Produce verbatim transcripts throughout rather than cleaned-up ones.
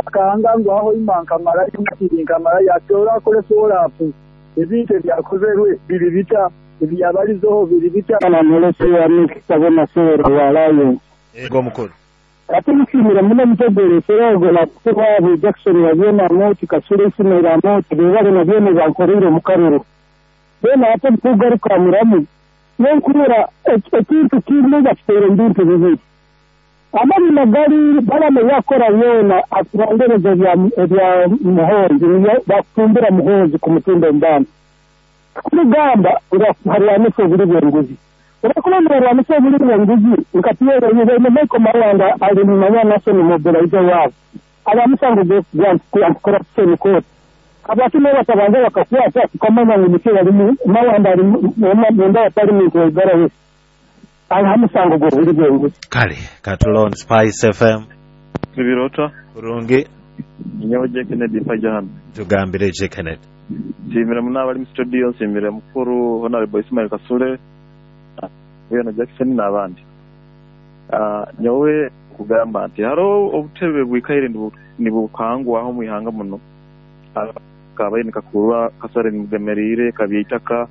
Akanga ngu aho ima nkamara imatiri nkamara yatora akole follow-up ebintu ebyakozerwe biri bita ebyabalizoho biri bita. Kana mulesi wa mikisabona sero wa Alliance. Ego mukuru. Ate musimira muno mutegere serogo na kubabu Jackson wabyona moti Kasule Ismail Amoti bebale na byona bankorire mu karuru. Bena ate kugaruka muramu nenkurura ekintu kimwe gakitere mbintu bibiri. Amani magari Balamu yakora yona aturondereza bya bya Muhoozi bakumbira Muhoozi ku mutindo mbana. Kurugamba harwanisa obuli bw'enguzi. Urakulomba harwanisa obuli bw'enguzi nkatiyera yibene Michael Mawanda ali mu Mawanda National Mobilizer wabo. Abamusango gwa anti-corruption court. Abakime batabanza bakakwata tukamanya ngu muke yali Mawanda ali mu nda parliament wa Igara West. Alhamusango gwa obuli bw'enguzi. Kale katulon Spice F M. Ibirota. Kurungi. Nyawo J Kennedy Pajan. Tugambire J Kennedy. Nshimira munaba ari mu studio, nshimira mukuru Honorable Ismail Kasule, na Jackson n'abandi. Ah, nyowe kugamba nti haro obutebe bwikaire nibukangwa aho mwihanga muno. Kabaye nikakurwa kasare nimugemerire kabyeitaka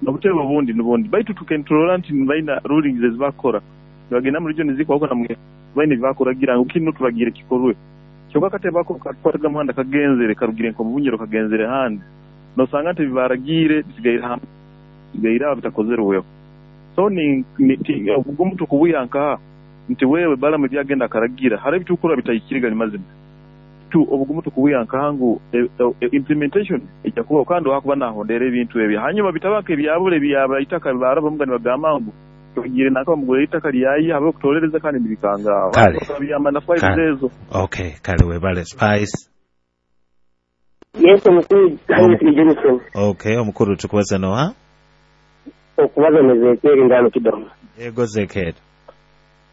n'obutebe obundi n'obundi baitu tukentrola nti baina rulings ezibakora. Nibagenda mu region ziko na mwe baine bibakora ngu kino tubagire kikorwe. Kyokka katebe ako katwaraga muhanda kagenzere karugire nko mubunyero kagenzere handi. Nosanga nti bibaragire bisigaye hamwe bigaira bitakozerweho. So ni obugumu tukubuyanka nti wewe Balamu byagenda akaragira hari bitukura bitayikiriga mazima tu obugumu tukubuyanka ngu e, e, implementation ejja kuba kandi wakuba nahondera ebintu ebyo hanyuma bitabaka ebyabule byaba itaka baraba mugani bagamba ngu tugire naka mugure itaka lyayi habe kutolereza kandi nibikanga byamba na five ezo. Okay, kale webale Spice. Yes, omukuru Johnson. Okay, omukuru tukubaza noha? Okubaza nezekeri ndano kidomo. Ego zekeri.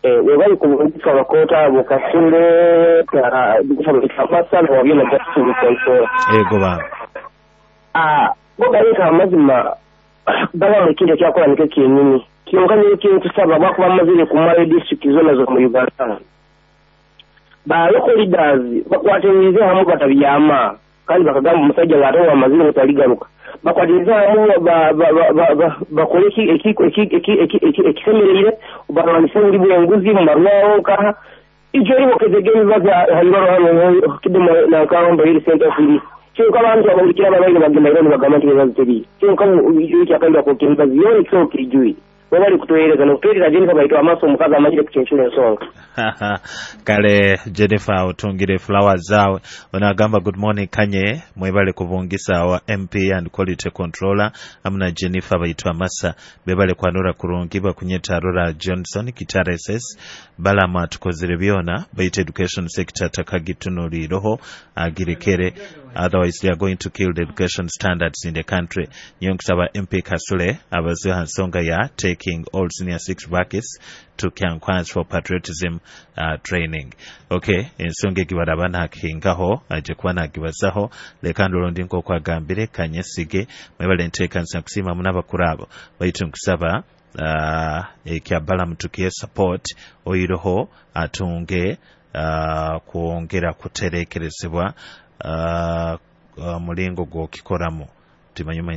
Eh, webali kumugisa abakota abo Kasule ka dikufaba wabyona Jackson Konso. Ego ba. Ah, boga yeka amazima baba ekintu kyakola nikyo kyenyini. Kyonka nyo kusaba bakuba amazire ku male district zona zo mu Uganda. Ba local leaders bakwatirize hamu batabyama kandi bakagamba omusajja ng'ate amazire mutaligaruka. Bakwatirize hamu bakole ekisemerere barwanise buli bwenguzi mu marwawo nkaha ijyo ribokezege bibaza hayibaro hano kidomo na nkambo iri center free. Kyonka abantu abahulikira ababaire bagenda ironi bagamba nti bibazo teri. Kyonka ekyakayira kwokya emibazi yoona ekisoboka kirijui. Wabali kutueleza na kutueleza Jennifer baitwa amaso omukazi amanyire kuchenchula ensonga. Kale Jennifer otungire flowers zawe. Onagamba good morning Kanye mwebale kubungisa wa M P and quality controller amuna Jennifer baitwa Masa bebale kwanura kurungi bakunyeta Rora Johnson Kitara S S Balamu atukozere byona baita education sector takagitunuliroho agirekere otherwise they are going to kill the education standards in the country. Nyo nkusaba M P Kasule abaziha nsonga ya taking all senior six brackets to Kyankwanzi for patriotism uh, training. Okay, ensonga egibaraba nakingaho aje kuba nagibazaho leka ndolondi nko kwagambire kanyesige mwebale nteeka nsa kusima munabakuru abo baitu nkusaba uh, ekya Balamu tukiye support oyiroho atunge uh, kwongera kuterekerezebwa uh, uh, mulingo gw'okikoramu timanyuma.